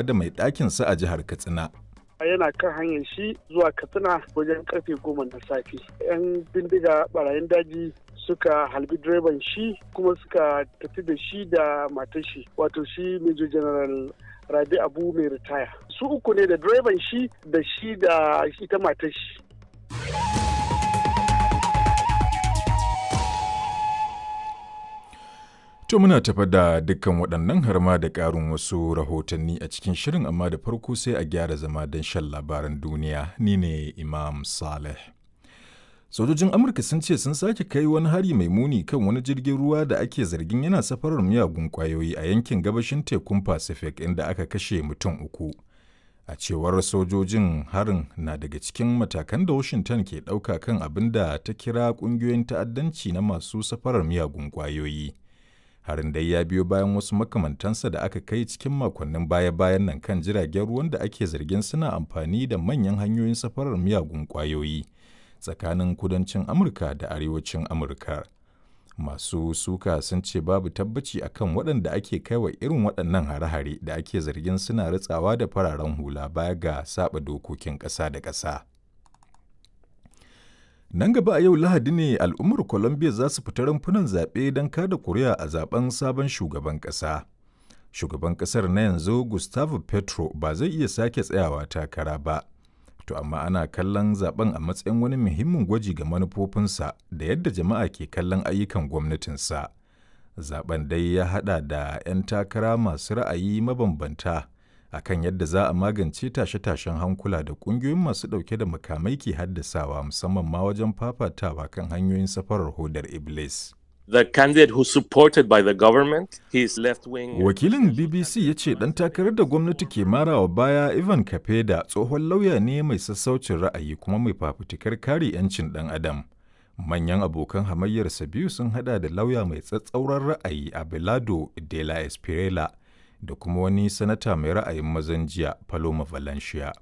Da mai ɗakinsa a jihar Katsina. Yana kan hanyar shi zuwa Katsina wajen karfe 10 na safe. 'Yan bindiga barayin daji suka halbi direban shi kuma suka tafi da shi da matar shi, wato shi Major General Rabi Abu mai ritaya. Su uku ne, da direban shi da shi da ita matar shi. To, muna tafa da dukkan waɗannan har ma da ƙarin wasu rahotanni a cikin shirin, amma da farko sai a gyara zama don shan labaran duniya. Ni ne Imam Saleh. Sojojin Amurka sun ce sun sake kai wani hari mai muni kan wani jirgin ruwa da ake zargin yana safarar miyagun ƙwayoyi a yankin gabashin tekun Pacific, inda aka kashe mutum uku. A cewar sojojin, harin na daga cikin matakan da Washington ke ɗauka kan abin da ta kira ƙungiyoyin ta'addanci na masu safarar miyagun ƙwayoyi. Harin dai ya biyo bayan wasu makamantansa da aka kai cikin makonnin baya-bayan nan kan jiragen ruwan da ake zargin suna amfani da manyan hanyoyin safarar miyagun ƙwayoyi tsakanin kudancin Amurka da arewacin Amurka. Masu suka sun ce babu tabbaci akan waɗanda ake kaiwa irin waɗannan hare-hare da ake zargin suna ritsawa da fararen hula baya ga saɓa dokokin ƙasa da ƙasa. Nan gaba a yau Lahadi ne al'ummar Colombia za su fita rumfunan zaɓe don kada kuri'a a zaben sabon shugaban ƙasa. Shugaban ƙasar na yanzu, Gustavo Petro, ba zai iya sake tsayawa takara ba. To amma ana kallon zaben a matsayin wani muhimmin gwaji ga manufofinsa da yadda jama'a ke kallon ayyukan gwamnatinsa. Zaben dai ya haɗa da 'yan takara masu ra'ayi mabambanta akan yadda za a magance tashe-tashen hankula da ƙungiyoyin masu ɗauke da makamai ke haddasawa, musamman ma wajen fafatawa kan hanyoyin safarar hodar Iblis. The candidate who's supported by the government, his left wing. Wakilin BBC ya ce ɗan takarar da gwamnati ke marawa baya, Ivan Kapeda, tsohon lauya ne mai sassaucin ra'ayi kuma mai fafutukar kare 'yancin ɗan adam. Manyan abokan hamayyarsa biyu sun hada da lauya mai tsatsauran ra'ayi Abelardo de la Espriella da kuma wani sanata mai ra'ayin mazan jiya, Paloma Valencia.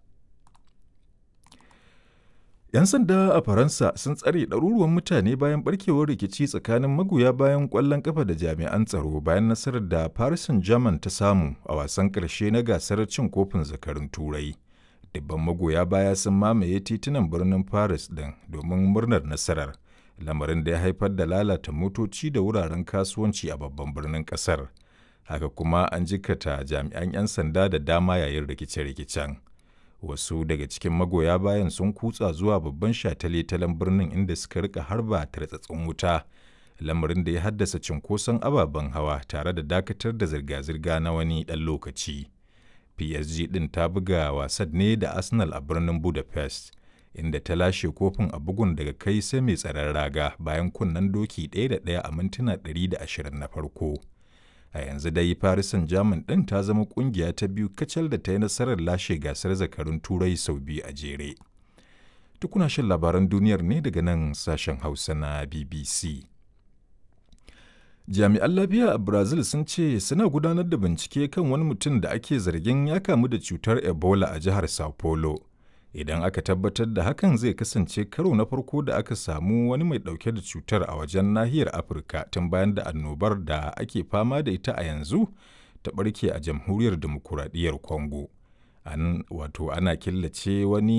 'Yan sanda a Faransa sun tsare ɗaruruwan mutane bayan barkewar rikici tsakanin magoya bayan ƙwallon ƙafa da jami'an tsaro bayan nasarar da Paris Saint-Germain ta samu a wasan ƙarshe na gasar cin kofin zakarun Turai. Dubban magoya baya sun mamaye titunan birnin Paris ɗin domin murnar nasarar, lamarin da ya haifar da lalata motoci da wuraren kasuwanci a babban birnin ƙasar. Haka kuma an jikata jami'an 'yan sanda da dama yayin rikice-rikicen. Wasu daga cikin magoya bayan sun kutsa zuwa babban shataletalen birnin, inda suka rika harba tartsatsin wuta, lamarin da ya haddasa cunkoson ababen hawa tare da dakatar da zirga-zirga na wani ɗan lokaci. PSG ɗin ta buga wasan ne da Arsenal a birnin Budapest, inda ta lashe kofin a bugun daga kai sai mai tsaron raga bayan kunnen doki 1 da 1 a mintuna 120 na farko. A yanzu dai Paris Saint-Germain ɗin ta zama ƙungiya ta biyu kacal da ta yi nasarar lashe gasar zakarun Turai sau biyu a jere. Tukuna shan labaran duniyar ne daga nan sashen Hausa na BBC. Jami'an lafiya a Brazil sun ce suna gudanar da bincike kan wani mutum da ake zargin ya kamu da cutar Ebola a jihar Sao Paulo. Idan aka tabbatar da hakan, zai kasance karo na farko da aka samu wani mai dauke da cutar a wajen nahiyar Afirka tun bayan da annobar da ake fama da ita a yanzu ta barke a Jamhuriyar Demokuraɗiyyar Congo. An wato ana killace wani